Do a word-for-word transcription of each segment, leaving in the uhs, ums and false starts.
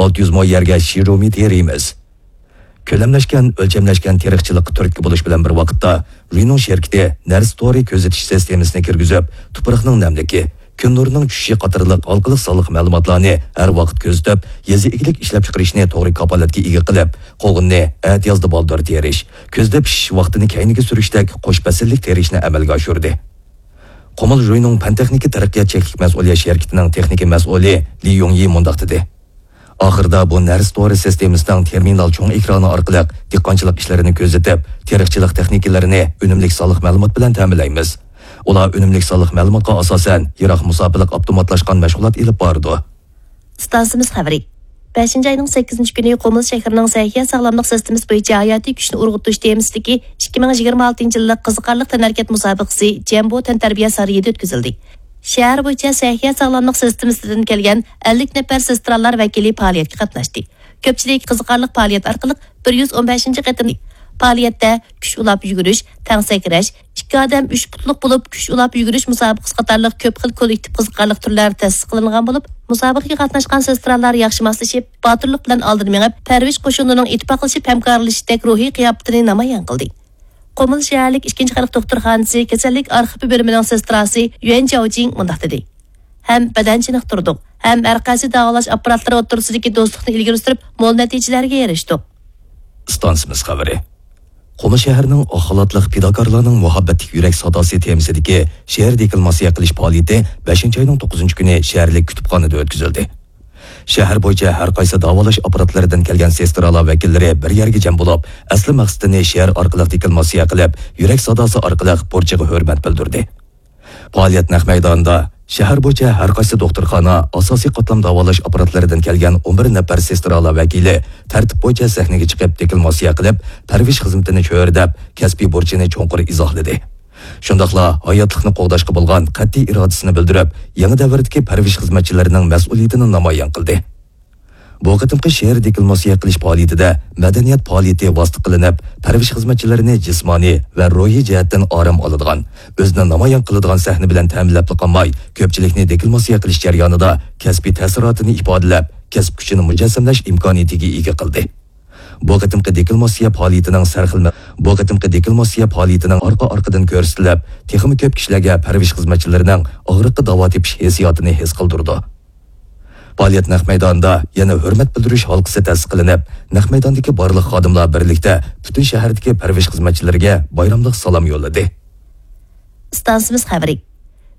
ئالتە يۈز مو يەرگە شىرومى تېرىيمىز. كۆلەملەشكەن، ئۆلچەملەشكەن تېرىقچىلىققا تۈرتكە بولۇش بىلەن بىر ۋاقىتتا، رۇينىڭ شىركىتى نەرسە تورى كۆزىتىش سىستېمىسىنى كىرگۈزۈپ، تۇپراقنىڭ نەملىكى، كۈن نۇرىنىڭ چۈشۈشى قاتارلىق ھالقىلىق سانلىق مەلۇماتلارنى ھەر ۋاقىت كۆزىتىپ، يېزا ئىگىلىك ئىشلەپچىقىرىشنى توغرا كاپالەتكە ئىگە قىلىپ، قوغۇننى ئەتىيازدا بالدۇر تېرىش، كۈزدە پىشىش ۋاقتىنى كەينىگە سۈرۈشتەك قوش پەسىللىك تېرىشنى ئەمەلگە ئاشۇردى. قۇمۇل رۇينىڭ پەن-تېخنىكا تەرەققىيات چەكلىك مەسئۇلىيەت شىركىتىنىڭ تېخنىكا مەسئۇلى لى يۇڭيى مۇنداق دېدى: ئاخىرىدا بۇ نەرسە تورى سىستېمىسىنىڭ تېرمىنال چوڭ ئېكرانى ئارقىلىق دېھقانچىلىق ئىشلىرىنى كۆزىتىپ، تېرىقچىلىق تېخنىكلىرىنى ئۈنۈملۈك سانلىق مەلۇمات بىلەن تەمىنلەيمىز. ئۇلار ئۈنۈملۈك سانلىق مەلۇماتقا ئاساسەن، يىراق مۇساپىلىق ئاپتوماتلاشقان مەشغۇلات ئېلىپ بارىدۇ. ئىستانسىمىز خەۋىرى. بەشىنچى ئاينىڭ سەككىزىنچى كۈنى قۇمۇل شەھىرىنىڭ سەھىيە ساغلاملىق سىستېمىسى بويىچە ھاياتىي كۈچنى ئۇرغۇتۇش تېمىسىدىكى ئىككى مىڭ يىگىرمە ئالتىنچى يىللىق قىزىقارلىق تەنھەرىكەت مۇسابىقىسى جەمبو تەنتەربىيە سارىيىدا ئۆتكۈزۈلدى. شەھەر بويىچە سەھىيە ساغلاملىق سىستېمىسىدىن كەلگەن ئەللىك نەپەر سېسترالار ۋەكىلى پائالىيەتكە قاتناشتى. كۆپچىلىك قىزىقارلىق پائالىيەت ئارقىلىق بىر يۈز ئون بەشىنچى قېتىم پائالىيەتتە كۈچ ئۇلاپ يۈگۈرۈش، تەڭ سەكرەش، ئىككى ئادەم ئۈچ پۇتلۇق بولۇپ كۈچ ئۇلاپ يۈگۈرۈش مۇسابىقىسى قاتارلىق كۆپ خىل كوللېكتىپ قىزىقارلىق تۈرلەر تەسىس قىلىنغان بولۇپ، مۇسابىقىگە قاتناشقان سېسترالار ياخشى ماسلىشىپ، باتۇرلۇق بىلەن ئالدىن مېڭىپ، پەرۋىش قوشۇنىنىڭ ئىتتىپاقلىشىپ ھەمكارلىشىشتەك روھىي قىياپىتىنى نامايان قىلدى. قۇمۇل شەھەرلىك ئىككىنچى خەلق دوختۇرخانىسى كېسەللىك ئارخىپى بۆلۈمىنىڭ سېستراسى يۈەن جياۋجىڭ مۇنداق دېدى: ھەم بەدەن چېنىقتۇردۇق، ھەم ھەر قايسى داۋالاش ئاپپاراتلىرى ئوتتۇرىسىدىكى دوستلۇقنى ئىلگىرى سۈرۈپ، مول نەتىجىلەرگە ئېرىشتۇق. ئىستانسىمىز خەۋىرى. قۇمۇل شەھىرىنىڭ ئاق خالاتلىق پىداكارلارنىڭ مۇھەببەتلىك يۈرەك ساداسى تېمىسىدىكى شېئىر دېكلاماتسىيە قىلىش پائالىيىتى بەشىنچى ئاينىڭ توققۇزىنچى كۈنى شەھەرلىك كۇتۇپخانىدا ئۆتكۈزۈلدى. شەھەر بويىچە ھەر قايسى داۋالاش ئاپپاراتلىرىدىن كەلگەن سېسترالار ۋەكىللىرى بىر يەرگە جەم بولۇپ، ئەسلى مەقسىتىنى شېئىر ئارقىلىق دېكلاماتسىيە قىلىپ، يۈرەك ساداسى ئارقىلىق بۇرچىغا ھۆرمەت بىلدۈردى. پائالىيەت نەق مەيدانىدا شەھەر بويىچە ھەر قايسى دوختۇرخانا، ئاساسىي قاتلام داۋالاش ئاپپاراتلىرىدىن كەلگەن ئون بىر نەپەر سېسترالار ۋەكىلى تەرتىپ بويىچە سەھنىگە چىقىپ، دېكلاماتسىيە قىلىپ، پەرۋىش خىزمىتىنى چۆرىدەپ، كەسپىي بۇرچىنى چوڭقۇر ئىزاھلىدى. شۇنداقلا ھاياتلىقنى قوغداشقا بولغان قەتئىي ئىرادىسىنى بىلدۈرۈپ، يېڭى دەۋردىكى پەرۋىش خىزمەتچىلىرىنىڭ مەسئۇلىيىتىنى نامايان قىلدى. بۇ قېتىمقى شېئىر دېكلاماتسىيە قىلىش پائالىيىتىدە مەدەنىيەت پائالىيىتى ۋاسىتە قىلىنىپ، پەرۋىش خىزمەتچىلىرىنى جىسمانىي ۋە روھىي جەھەتتىن ئارام ئالىدىغان، ئۆزىنى نامايان قىلىدىغان سەھنە بىلەن تەمىنلەپلا قالماي، كۆپچىلىكنى دېكلاماتسىيە قىلىش جەريانىدا كەسپىي تەسىراتىنى ئىپادىلەپ، كەسىپ كۈچىنى مۇجەسسەملەش ئىمكانىيىتىگە ئىگە قىلدى. بۇ قېتىمقى دېكلاماتسىيە پائالىيىتىنىڭ سەرخىل مە-، بۇ قېتىمقى دېكلاماتسىيە پائالىيىتىنىڭ ئارقا-ئارقىدىن كۆرسىتىلىپ، تېخىمۇ كۆپ كىشىلەرگە پەرۋىش خىزمەتچىلىرىنىڭ ئاغرىققا داۋا تېپىش ھېسسىياتىنى ھېس قىلدۇرىدۇ. پائالىيەت نەق مەيدانىدا يەنە ھۆرمەت بىلدۈرۈش ھالقىسى تەسىس قىلىنىپ، نەق مەيداندىكى بارلىق خادىملار بىرلىكتە پۈتۈن شەھەردىكى پەرۋىش خىزمەتچىلىرىگە بايراملىق سالام يوللىدى. ئىستانسىمىز خەۋىرى.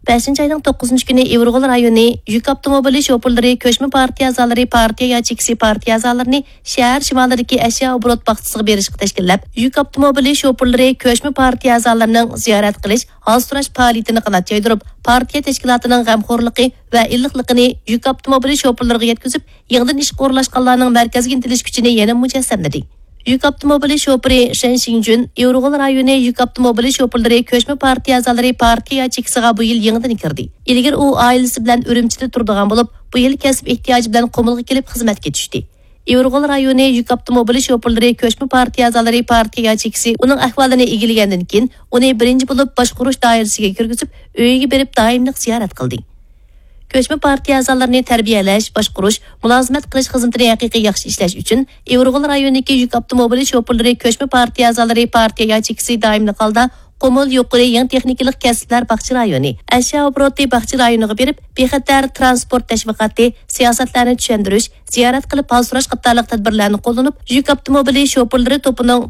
بەشىنچى ئاينىڭ توققۇزىنچى كۈنى ئىۋىرغول رايونى يۈك ئاپتوموبىلى شوپۇرلىرى كۆچمە پارتىيە ئەزالىرى پارتىيە ياچېيكىسى پارتىيە ئەزالىرىنى شەھەر شىمالىدىكى ئەشيا ئوبوروت باغچىسىغا بېرىشقا تەشكىللەپ، يۈك ئاپتوموبىلى شوپۇرلىرى كۆچمە پارتىيە ئەزالىرىنىڭ زىيارەت قىلىش، ھال سوراش پائالىيىتىنى قانات يايدۇرۇپ، پارتىيە تەشكىلاتىنىڭ غەمخورلۇقى ۋە ئىللىقلىقىنى يۈك ئاپتوموبىلى شوپۇرلىرىغا يەتكۈزۈپ، يېڭىدىن ئىشقا ئورۇنلاشقانلارنىڭ مەركەزگە ئىنتىلىش كۈچىنى يەنە مۇجەسسەملىدى. يۈك ئاپتوموبىلى شوپۇرى شەن شىڭجۈن ئىۋىرغول رايونى يۈك ئاپتوموبىلى شوپۇرلىرى كۆچمە پارتىيە ئەزالىرى پارتىيە ياچېيكىسىغا بۇ يىل يېڭىدىن كىردى. ئىلگىرى ئۇ ئائىلىسى بىلەن ئۈرۈمچىدە تۇرىدىغان بولۇپ، بۇ يىل كەسىپ ئېھتىياجى بىلەن قۇمۇلغا كېلىپ خىزمەتكە چۈشتى. ئىۋىرغول رايونى يۈك ئاپتوموبىلى شوپۇرلىرى كۆچمە پارتىيە ئەزالىرى پارتىيە ياچېيكىسى ئۇنىڭ ئەھۋالىنى ئىگىلىگەندىن كېيىن، ئۇنى بىرىنچى بولۇپ باشقۇرۇش دائىرىسىگە كىرگۈزۈپ، ئۆيىگە بېرىپ دائىملىق زىيارەت قىلدى. كۆچمە پارتىيە ئەزالىرىنى تەربىيەلەش، باشقۇرۇش، مۇلازىمەت قىلىش خىزمىتىنى ھەقىقىي ياخشى ئىشلەش ئۈچۈن ئىۋىرغول رايونىدىكى يۈك ئاپتوموبىلى شوپۇرلىرى كۆچمە پارتىيە ئەزالىرى پارتىيە ياچېيكىسى دائىملىق ھالدا قۇمۇل يۇقىرى يېڭى تېخنىكىلىق كەسىپلەر باغچە رايونى، ئەشيا ئوبوروتى باغچە رايونىغا بېرىپ، بىخەتەر تىرانسپورت تەشۋىقاتى، سىياسەتلەرنى چۈشەندۈرۈش، زىيارەت قىلىپ ھال سوراش قاتارلىق تەدبىرلەرنى قوللىنىپ، يۈك ئاپتوموبىلى شوپۇرلىرى توپىنىڭ